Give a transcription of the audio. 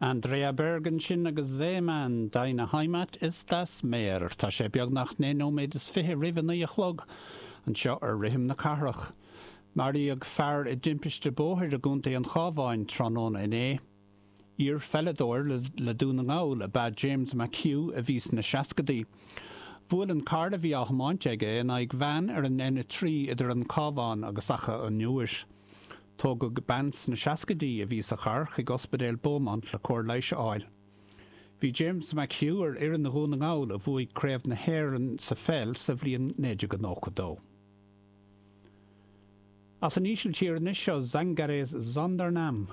Andrea Berg ansin agus Seemann, Deine Heimat ist das Meer. Tá sé beagnach 29 nóiméad roimh a 9 a chlog anseo ar Rithim na Cathrach. Maraíodh fear i dtimpiste bóthair i gContae an Chabháin tráthnóna inné. Iar-pheileadóir le Dún na nGall ab ea James McHugh a bhí sna seascadaí. Bhuail an carr a bhí á thiomáint aige in aghaidh veain ar an N3 idir an Cabhán agus Achadh an Iúir. Tógadh bean sna seascaidí a bhí sa charr chuig Ospidéal Beaumont le cóir leighis a fháil. Bhí James McHugh ar fhoireann Dhún na nGall a bhuaigh Craobh na hÉireann sa pheil sa bhliain 1992. As an Ísiltír anois seo Zangeres Zonder Naam.